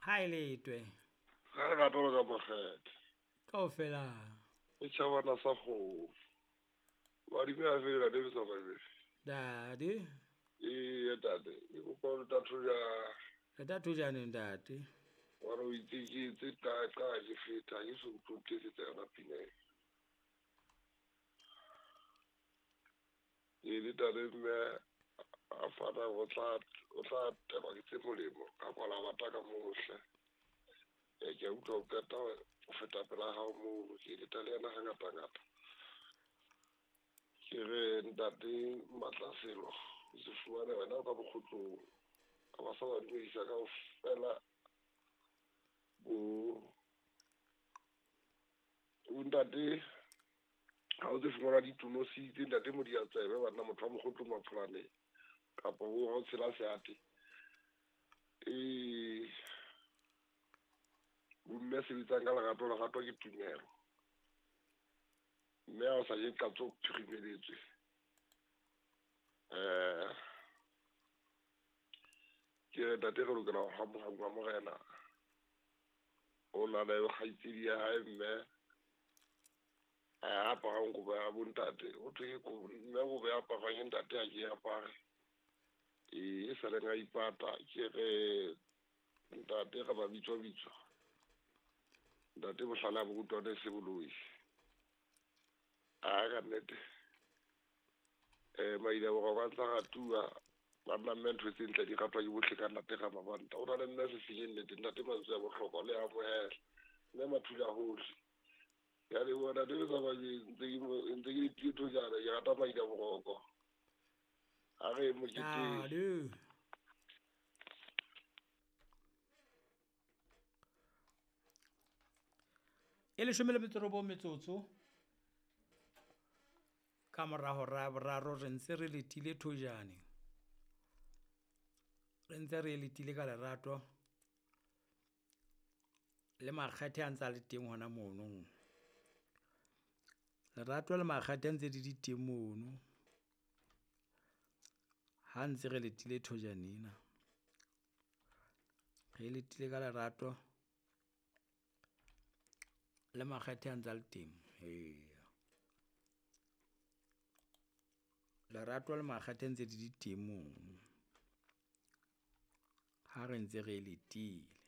Ha e letwe. Ga re rata ka makgethe. Kaofela. E tšhabana sa kgomo. Badimo a fela le sa ba. Dadi. Ee tate, ke kopa ho tatho ja. Re tatho ja neng ntate? Wa re o itse ke tse ka ka ke feta ke so utlwe tse yona pina. E le tate mme a fana o tla telwa ke tse molemo ka kwala bata ka mohle. E ke utlwa o qeta o feta pela hao mono ke le tale yena hangata ngata. Ke re ntate Matlaselo o se fumane wena o ka bokgotlong ka ba sa ba dumedisa kaofela bo ntate ha o tse fumana ditonositse ntate Modiatsebe banna motho wa mokgotlong Mapholaneng kapa bo ha o tshela seate e bomme sebetsang ka lerato lerato ke tumelo mme ha o sa je qatso phirimeletswe ke re ntate re lokela ho hamohangwa morena o na le kgaitsedi ya hae mme a aparang kobo ya bontate o thwe ke mme kobo ya aparang ke ntate ha ke apare e sa leng a ipata ke re ntate re ba bitswa bitswa ntate bohlale a borutwane se boloi a ka nnete maile boroko a tla ratuwa banna mme ntho tse ntle di ratwa ke bohle ka nnate ga mabanta o na le mme se senye nnete ntate mantswe a bohlokwa le amohela mme mathula hohle ya le bona le tsamaya ntse ke ditho jana ke rata maile boroko a re mokete e leshome le metso robong metsotso ka mora hora ya boraro re ntse re letile thojane, re ntse re letile ka lerato le makgethe a ntse a le teng hona mono. Lerato le makgethe a ntse di le teng mono ha ntse re letile thojane ena, re letile ka lerato le makgethe a ntse a le teng, eya. Lerato le makgethe ntse di le teng mono ha re ntse re letile.